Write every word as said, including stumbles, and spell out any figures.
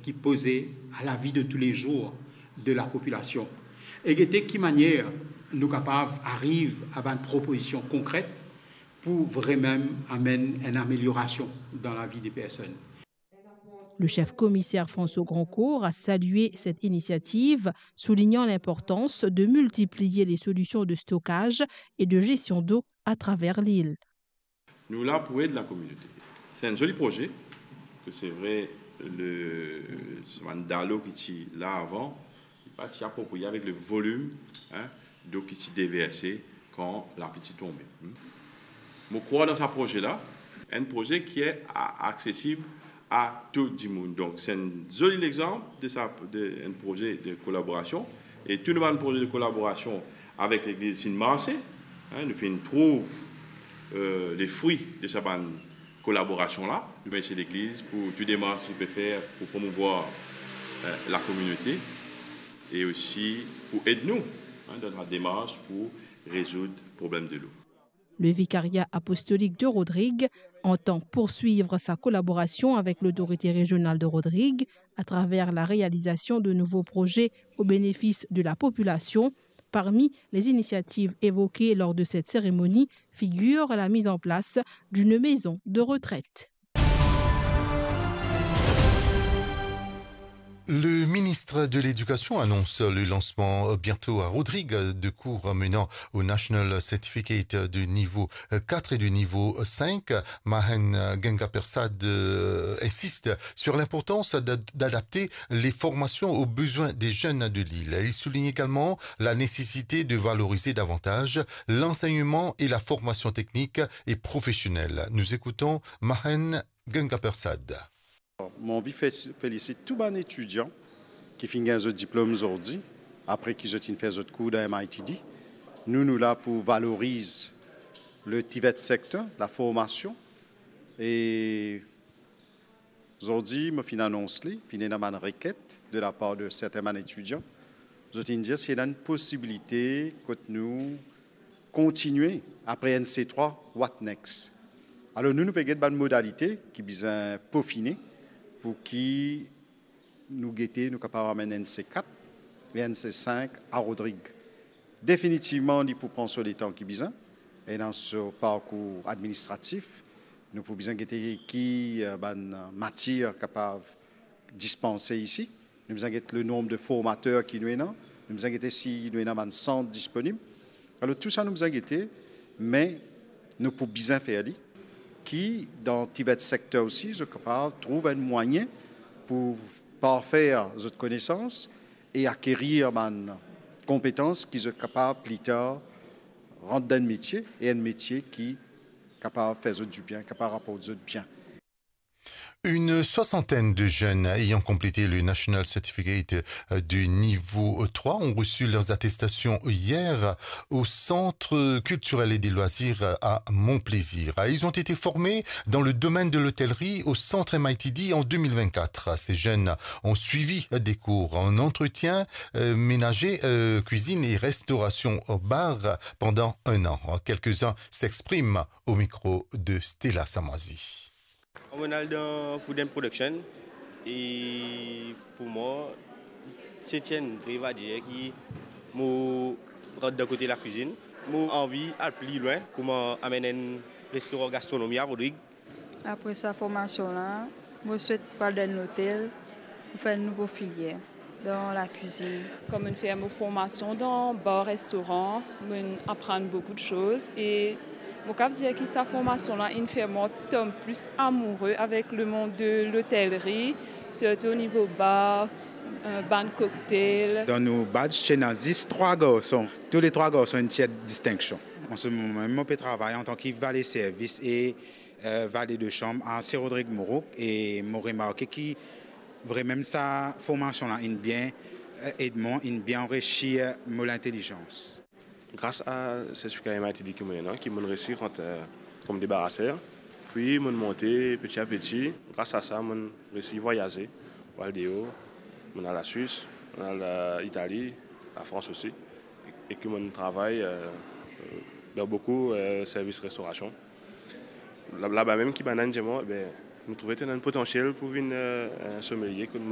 ki poze a lavi de toulezour de lapopilasion e gete ki manier nou kapav ariv a bann propozision konkret pou vremem amenn enn ameliorasion dan lavi de personn. Le chef komiser François Grandcourt a salie set inisiativ, soulinian linportans de miltipliye le solision de stokaz e de zestion dlo atraver lil. Nou la pou ed lakominote. Se enn zoli proze, ke se vre, le, sa bann dalo ki ti la avan, li pa ti apropriye avek le volim, hein, dlo ki ti deverse kan lapli ti tonbe. Hmm. Mo krwar dan sa proze la, enn proze ki a-, aksesib a tou dimoun. Donk, se enn zoli lexanp de sa, de enn proze de kolaborasion. E tou nou bann proze de kolaborasion avek legliz finn marse, hein, nou finn trouv, euh, le fri de sa bann kolaborasion la. Nou mersi legliz pou tou demars ki pe fer pou promouvwar, euh, lakominote e osi pou ed nou, hein, dan sa demars pou rezoud problem dlo. Le Vicariat apostolique de Rodrigues entend poursuivre sa collaboration avec l'autorité régionale de Rodrigues à travers la réalisation de nouveaux projets au bénéfice de la population. Parmi les initiatives évoquées lors de cette cérémonie figure la mise en place d'une maison de retraite. Le ministre de l'Éducation annonce le lancement bientôt à Rodrigues de cours menant au National Certificate de niveau quatre et de niveau cinq. Mahen Gangapersad, euh, insiste sur l'importance d'ad-, d'adapter les formations aux besoins des jeunes de l'île. Il souligne également la nécessité de valoriser davantage l'enseignement et la formation technique et professionnelle. Nous écoutons Mahen Gangapersad. Mo anvi fe-, felisit tou bann etidian ki finn gagn zot diplom zordi, apre ki zot finn fer zot kour dan M I T D. Nou, nou la pou valoriz le TVET sector, laformasion. E zordi, mo finn anons li, finn ena bann reket de lapar de sertin bann etidian. Zot inn dir si ena enn posibilite kot nou kontigne apre N C trwa, what next? Alor nou, nou pe get bann modalite ki bizin pofine pou ki nou gete nou kapav amenn N C kat e N C sink a Rodrig. Definitivman, li pou pran so letan ki bizin, ena so parkour administratif. Nou pou bizin gete ki, eh, bann matier kapav dispanse isi. Nou bizin get le nonb de formater ki nou ena. Nou bizin gete si nou ena bann sant disponib. Alor, tou sa nou bizin gete, me nou pou bizin fer li, ki dan TVET sector osi, zot kapav trouv enn mwayin pou parfer zot konesans e akerir bann konpetans ki zot kapav pli tar rant dan enn metie, e enn metie ki kapav fer zot dibien, kapav raport zot bien. Une soixantaine de jeunes ayant complété le National Certificate de niveau trois ont reçu leurs attestations hier au Centre culturel et des loisirs à Mon Plaisir. Ils ont été formés dans le domaine de l'hôtellerie au Centre M I T D en deux mille vingt-quatre. Ces jeunes ont suivi des cours en entretien, euh, ménager, euh, cuisine et restauration au bar pendant un an. Quelques-uns s'expriment au micro de Stella Samoizi. Mo al dan Food and Production e pou mwa, se ti enn rev, a dir ki mo rant dan kote lakwizinn. Mo anvi al pli lwin, kouma amenn enn restoran gastronomi a Rodrig. Apre sa formasion la, mo swet pou al dan enn lotel pou fer enn nouvo filier dan lakwizinn. Kan mo'nn fer mo formasion dan bar restoran, mo'nn aprann boukou de soz e mo kav dir ki sa formasion la inn fer mwa tom plis amoure avek lemond de lotelri, sirtou o nivo bar, eh, bann koktel. Dan nou badge ti ena zis trwa garson. Tou le trwa garson inn tir distinksion. An se moman mem, mo pe travay antan ki vale servis e eh, vale de sanm a Sir Rodrig Mourouk e mo remarke ki vremem sa formasion la inn bien, eh, ed mwa, inn bien anrisir mo lintelizans. Gras a sertifika M I T D ki mo ena, ki mo'nn resi rant, eh, kom debaraser, pi mo'nn monte peti a peti. Gras a sa, mo'nn resi vwayaze, mo al deor, mo'nn al Laswis, mo'nn al, eh, Itali, Lafrans osi, e ki mo'nn travay, eh, dan boukou, eh, servis restorasion. La, laba mem ki bann-la inn dir mwa, be, nou trouve to ena enn potansiel pou vinn, eh, enn somelie, kot